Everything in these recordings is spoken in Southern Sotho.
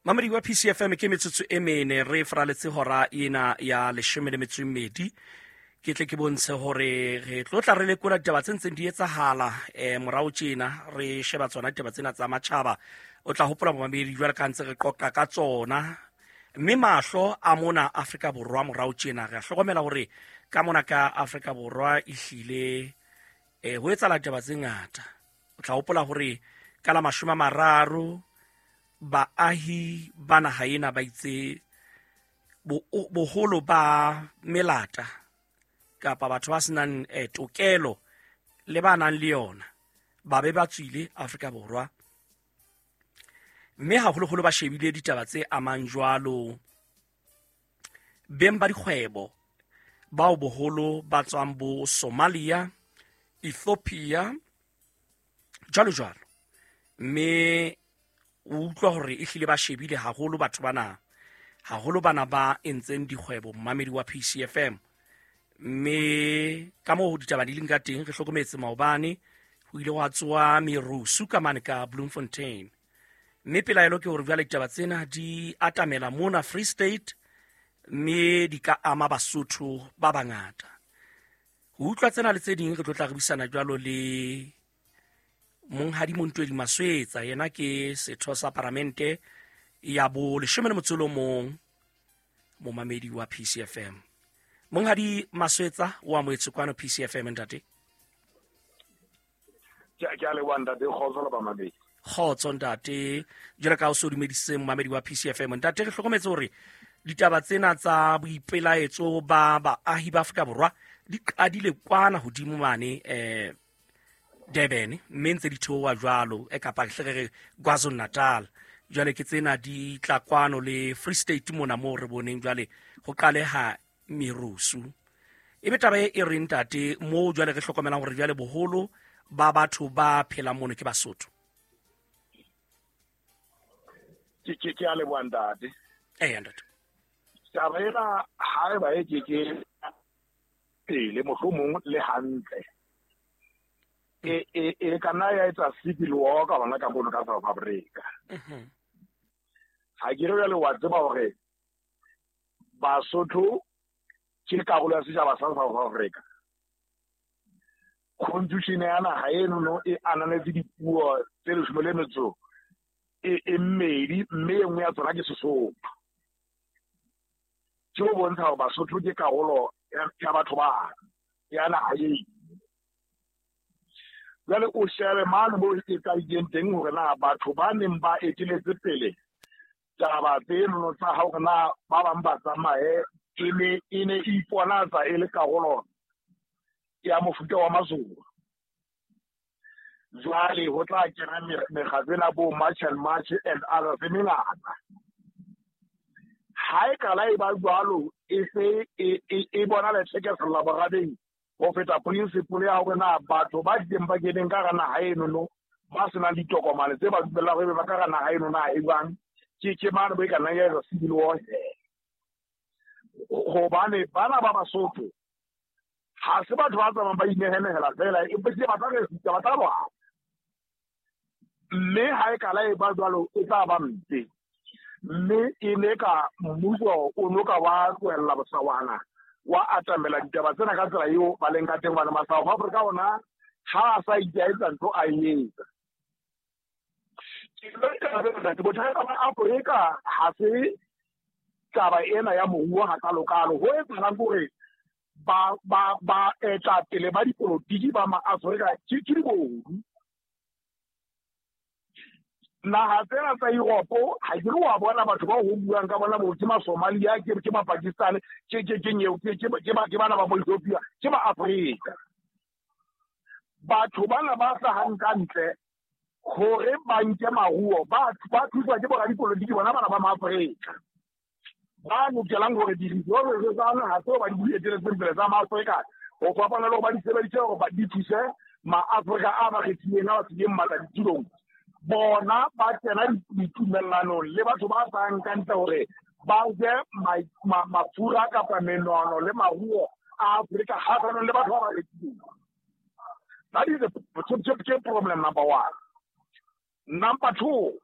Mamedi wa PCFM, ke metsotso e mene re fraletse hora ena ya 12. Ke tle ke bontshe hore re tlo tla re lekola ditaba tse ntseng di etsahala morao tjena, re sheba tsona ditaba tsena tsa matjhaba. O tla hopola momamedi jwale ka ntse re qoqa ka tsona, mme mahlo a mona Afrika Borwa morao tjena re a hlokomela hore ka mona ka Afrika Borwa ehlile ho etsahala ditaba tse ngata. O tla hopola hore ka la 30 baahi ba naha ena ba itse boholo ba melata kapa batho ba senang tokelo le ba nang le yona ba be ba tswile Afrika Borwa, mme haholoholo ba shebile ditaba tse amang jwalo beng ba dikgwebo bao boholo ba tswang bo Somalia, Ethiopia jwalo jwalo. Mme o utlwa hore ehlile ba shebile haholo batho bana, haholo bana ba entseng dikgwebo, mmamedi wa PCFM. Mme ka moo ditaba di leng ka teng, re hlokometse maobane ho ile hwa tsoa merusu ka mane ka Bloemfontein, mme pelaelo ke hore jwale ditaba tsena di atamela mona Free State, mme di ka ama Basotho ba bangata. Ho utlwa tsena le tse ding re tlo tla re buisana jwalo le Monghadi Montwedi Maswetsa, yena ke setho sa paramente ya bo 11, momamedi wa PCFM. Monghadi Maswetsa, o amohetswe kwano PCFM ntate. Ke a leboha ntate, kgotso le bamamedi. Kgotso ntate, jwalo ka o so dumedisitseng momamedi wa PCFM. Ntate, re hlokometse hore ditaba tsena tsa boipelaetso ba baahi ba Afrika Borwa di qadile kwana hodimo mane Durban, mme ntse di theoha jwalo kapa hle re re KwaZulu Natal. Jwale ke tsena di tla kwano le Free State mona moo re boneng jwale ho qaleha merusu. Ebe taba e reng ntate moo jwale re hlokomelang hore jwale boholo ba batho ba phelang mono ke Basotho? Ke a leboha ntate. Eya ntate. Taba ena ha e ba e ke ke pele mohlomong le hantle. E ka nna ya etsa civil war ka hona ka mono ka South Africa. Ha ke re jwale wa tseba hore Basotho ke karolo ya setjhaba sa South Africa. Constitution ya naha eno e ananetse dipuo tse 12, mme e nngwe ya tsona ke Sesotho. Ke ho bontsha hore Basotho ke karolo ya batho ba ya naha eo. Jwale o shebe mane moo e qadileng teng hore na batho ba neng ba eteletse pele taba tseno tsa hore na ba bang ba tsamaye e ne e iponatsa e le karolo ya mofuta wa Mazulu. Jwale ho tla kena mekgatlo ena bo March and March and others e mengata. Ha e qala e ba jwalo, e se e bona lethekesela borabeng ho feta principle ya hore na batho ba teng ba keneng ka hara naha eno no ba senang ditokomane tse ba dumellang hore ba ka hara naha eno na e jwang, ke mane bo e ka nnang ya etsa civil war. Hobane bana ba Basotho ha se batho ba tsamayang ba inehenehela fela, empa ke ba tla resista, ba tla lwana. Mme ha e kala e ba jwalo e tla ba mpe. Mme e ne ka mmuso o no ka wa tlohella bosawana wa atamela ditaba tsena ka tsela eo ba leng ka teng, hobane ma-South Africa ona ha a sa itaetsa ntho a e etsa. Bothata ba Afrika ha se taba ena ya moruo hakalokalo. Ho etsahalang ke hore ba etapele ba dipolotiki ba ma-Afrika ke dibodu. Naha tsena tsa Europe ha ke re wa bona batho bao ho buang ka bona bo ke ma-Somalia, ke ma-Pakistan, ke bana ba bo-Ethiopia, ke ma-Afrika. Batho bana ba hlahang ka ntle hore ba nke maruo, ba thuswa ke boradipolotiki bona bana ba ma-Afrika. Ba lokelang hore di-resources tsa naha tseo ba di eteletseng pele tsa ma-Afrika ho fapana le hore ba di sebedise hore ba di thuse ma-Afrika a ba kgethileng, a ba fileng matla ditulong. Bona ba kena ditumellanong le batho ba hlahang ka ntle hore ba je mafura kapa menono le maruo a Afrika kgahlanong le batho ba ba rekileng. That is the problem number one. Number two,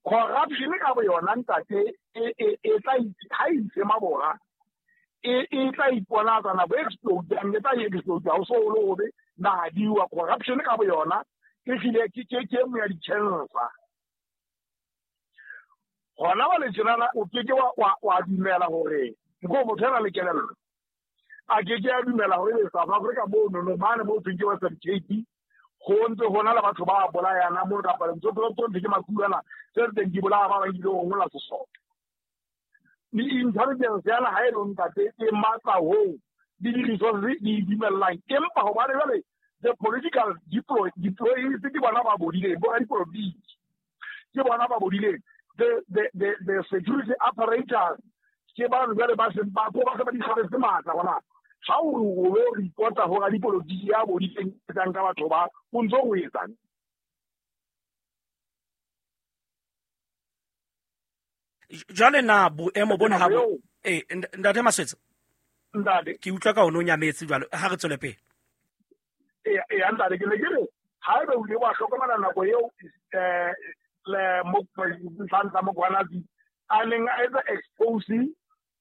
Corruption ka bo yona ntate e tla ha itse mabora e tla iponatsa nako e explode e tla explode ha o so o le hobe naha di wa. Corruption ka bo yona e hlile ke e nngwe ya di-cancer. Hona jwale tjenana o keke wa dumela hore nko motho a na le kelello a keke a dumela hore ebe South Africa mono mane mo thweng ke Western Cape ho ntse ho na le batho ba bolayana mono kapa ntho tse ke makulana tse teng di bolaya ba bang ebile ho ngola sesole. Di-intelligence ya naha eno ntate e matla hoo le di-resources di dumellang, empa hobane jwale the political deployees ke bona ba bodileng, bo radipolotiki ke bona ba bodileng. The security apparatus ke bano jwale ba seng ba ko ba se ba di tshwaretse matla gona. Ha o re o lo reporta ho radipolotiki ya bodileng etsang ka batho ba o ntso o etsang. Jwale na boemo bona ha bo ntate Maswetsa, ntate ke utlwa ka o no nyametse jwale, ha re tswele pele. E ntate ke ne ke re haebe o ile wa hlokomela nako eo le Nhlanhla Mkhwanazi a neng a etsa expose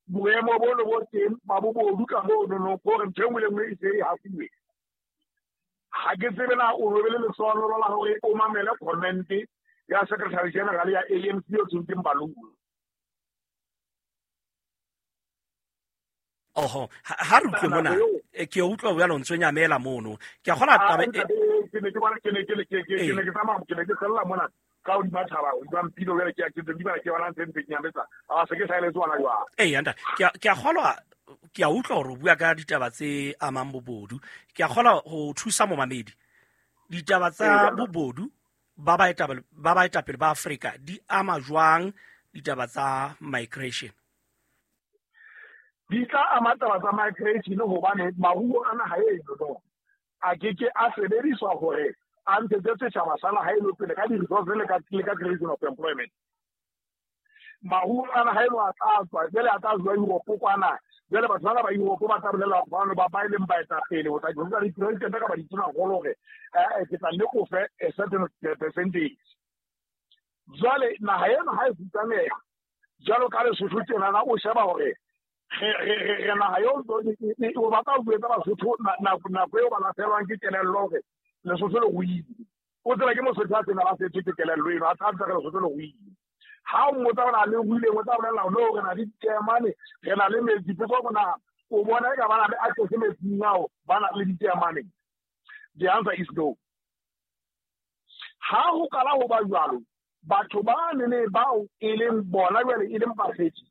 boemo bo le bo teng ba bobodu ka mono no gore ntho e nngwe le nngwe e se e hafuwe. Ha ke tsebe na o robele lesono la hore o mamele comment ya Secretary General ya ANC o thweng ke Mbalula. Oho, ha re utlwe mona, ke utlwa bjalo o ntso nyamela mono. Ke a kgona taba ke ne ke bona ke ne ke ke tsamaya ke ne ke sella mona ka hodima thaba hodima mpilo jwale ke ke di bala ke bona ntse ntse ke nyametsa a se ke saeletse ona jwang. Ntate, ke a kgolwa, ke a utlwa hore o bua ka ditaba tse amang bobodu. Ke a kgolwa ho thusa momamedi. Ditaba tsa bobodu ba baetapele ba Afrika di ama jwang ditaba tsa migration? Di tla ama taba tsa migration hobane maruo a naha eno a keke a sebediswa hore a ntshetse setjhaba sa naha eno pele ka di-resources le ka creation of employment. Maruo a naha eno a tla tswa jwale a tla tswa Europe kwana, jwale batho bana ba Europe ba tla bolela bano ba ba e leng baetapele ho tla jwetsa di-president kapa ditonakgolo hore ke tla nne ko fe a certain percentage. Jwale naha eno ha e futsaneha jwalo ka Lesotho tjenana o sheba hore re naha eo o batla ho jwetsa Basotho nako eo ba lahlehelwang ke kelello hore Lesotho le ruile. O tseba ke Mosotho a sena ba setswe ke kelello eno, a tla re Lesotho le ruile. Ha o mmotsa hore na le ruileng, o tla bolela no re na le diteemane, re na le metsi. Potso hore na o bona eka ba na le access metsing ao, ba na le diteemane. The answer is no. Ha ho qala ho ba jwalo, batho ba nene bao e leng bona jwale e leng bakgethi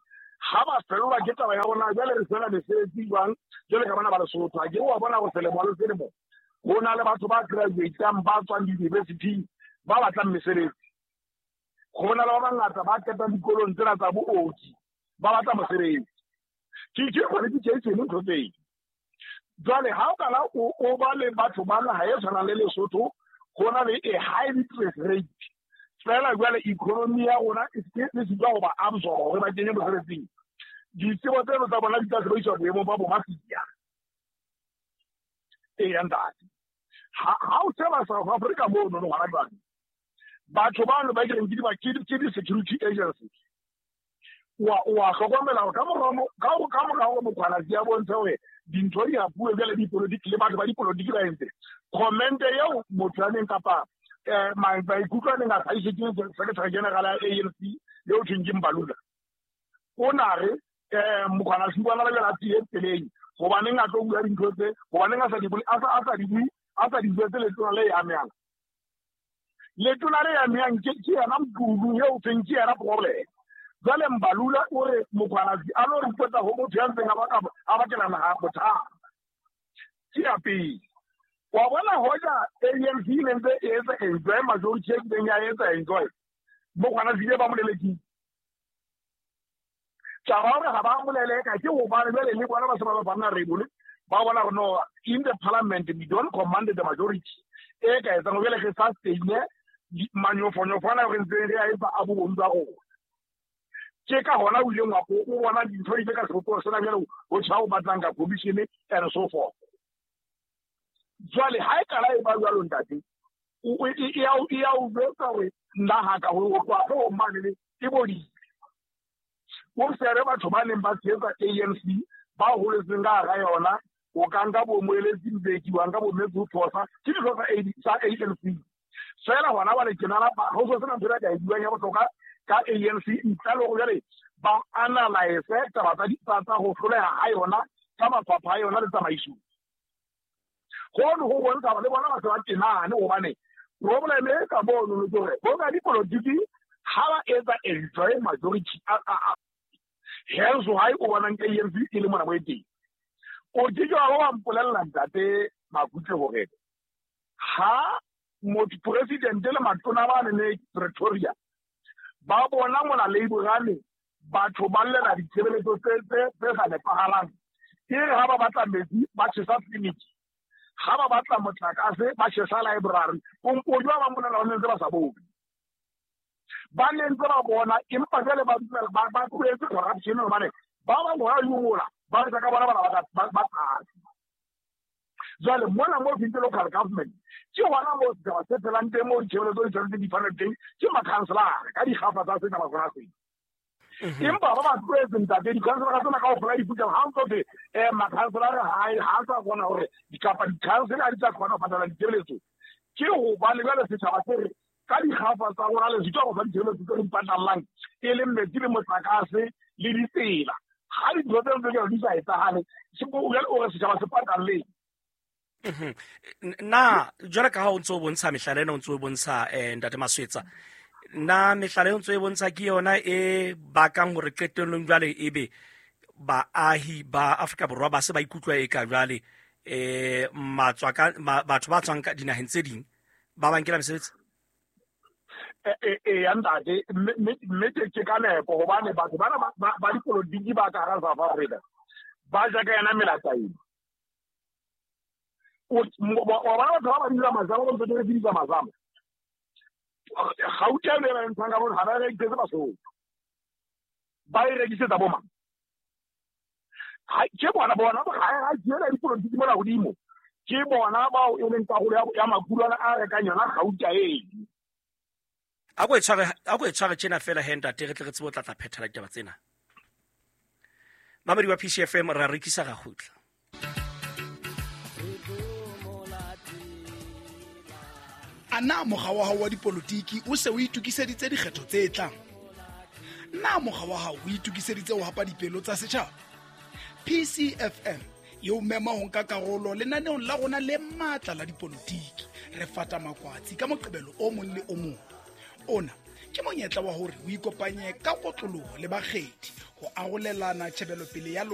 ha ba fellwa ke taba ya rona jwale re fela mesebetsi jwang jwale ka bana ba Lesotho. Ha ke wa bona go selemo le selemo ho na le batho ba graduatang ba tswang di-university ba batlang mesebetsi. Ho na le ba bangata ba qetang dikolong tsena tsa booki ba batla mosebetsi. Ke qualification ntho tseo. Jwale ha o kala o ba le batho ba naha e tshwanang le Lesotho, ho na le a high interest rate. Fela jwale economy ya rona e sitwa ho ba absorb hore ba kenye mosebetsing. Ditsebo tseno tsa bona di tla sebediswa boemong ba bomafia. Eya ntate. Ha o sheba South Africa mono no hona jwale, batho bano ba kereng ke di-security agencies. Wa hlokomela hore ka mora hore Mkhwanazi a bontshe hore dintho di hapuwe jwale dipolotiki le batho ba dipolotiki ba entse comment eo motho a neng kapa maikutlo a neng a hlahisitswe ke Secretary General ya ANC eo thweng ke Mbalula. O na re Mkhwanazi bona ba jwale a tswile tseleng, hobaneng a tlo bua dintho tse, hobaneng a sa di bue, a sa di jwetse letona le amehang. Letona le amehang ke yena Mqulu eo thweng ke yena problem. Jwale Mbalula o re Mkhwanazi a lo reporta ho motho ya ntseng a bakela naha bothata. Ke ya pele. Wa bona hoja ANC e ne ntse e etsa enjoy majority e kileng ya etsa enjoy, Mkhwanazi ba mo lelekile. Taba hore ha ba mo leleka ke hobane jwale le bona ba se ba ba rebole, ba bona hore no, in the parliament we don't command the majority. E ka etsang jwale re sustain manyofonyofo re ntseng re a etsa a bobodu ba rona. Ke ka hona o ileng wa o bona dintho di le ka sebopeho sena jwale ho tjha o batlang ka commission and so forth. Jwale ha e kala e ba jwalo ntate, E ya o jwetsa hore naha ka ho tloha hloohong mane e bodile. O shebe batho ba neng ba tshehetsa ANC ba holetseng ka hara yona, o ka nka bo Moeletsi Mbeki, wa nka bo Matthew Phosa, ke ditho tsa ANC. Feela hona jwale tjenana ho so sena ntho e ka e buang ya bohlokwa ka ANC ntle le hore jwale ba analyse taba tsa ho hloleha ha yona ka mafapha a yona le tsamaisong. Hono ho bontsha hore le bona ba se ba tenane, hobane problem e ka mono ke hore bo radipolotiki ha ba etsa enjoy majority hence why o bonang ANC e le mona mo e teng. O ke ke wa ba wa mpolella ntate Makutle hore ha motho president le matona ba ne Pretoria ba bona mona Labourane batho ba llela ditshebeletso tse sa nepahalang, ke re ha ba batla metsi ba tjhesa clinic, ha ba batla motlakase ba tjhesa library, o jwa ba mponela ba ntse ba sa bone, ba ne ntse ba bona, empa jwale ba dumela ba tlohetse corruption hobane ba bang hona yola ba etsa ka bona bana ba tlase. Jwale mona mo fitse local government ke hona moo setjhaba se phelang teng, moo ditshebeletso di tshwanetse di fanwe teng ke makhanselara ka dikgafa tsa setjhaba sona sena. Empa ba ba tlohetse ntate, dikhanselara tsena kaofela di fihla ha ntso thwe makhanselara ha sa kgona hore kapa dikhansele ha di tla kgona ho patala ditshebeletso, ke hobane jwale setjhaba se re ka dikgafa tsa rona le sitwa go fa ditshebeletso tse re di patallang, e leng metsi le motlakase le ditsela. Ha dintho tseo tse jwalo di sa etsahale, jwale o re setjhaba se patalleng. Na jwale ka ha o ntse o bontsha mehlala ena, o ntse o bontsha ntate Maswetsa, na mehlala e o ntse o bontsha ke yona e bakang hore qetellong jwale ebe baahi ba Afrika Borwa ba se ba ikutlwa e ka jwale batho ba tswang ka dinaheng tse ding ba ba nkela mesebetsi? Ya ntate, mme ke ka nepo hobane batho bana ba dipolotiki ba ka hara South Africa ba ja ka yena melata ena. Wa bona batho ba ba dira mazama, ba ntse ba dira mazama. Gauta e ba ntshang ka bona, ha ba rekisetse Basotho, ba e rekisetsa bo mang? Ke bona ha ke ena dipolotiki mona hodimo, ke bona bao e leng karolo ya makulwana a rekang yona gauta eno. A ko e tshware tjena fela he ntate, re tle re tsebe ho tla phethela ditaba tsena. Mamedi wa PCFM, ra rekisa ra kgutla. A na mokga wa hao wa dipolotiki o se o itokiseditse dikgetho tse tlang? Na mokga wa hao o itokiseditse ho hapa dipelo tsa setjhaba? PCFM e o mema ho nka karolo lenaneong la rona le matla la dipolotiki. Re fata makwatsi ka Moqebelo o mong le o mong. Ona ke monyetla wa hore o ikopanye ka kotloloho le bakgethi ho arolelana tjhebelopele ya lona.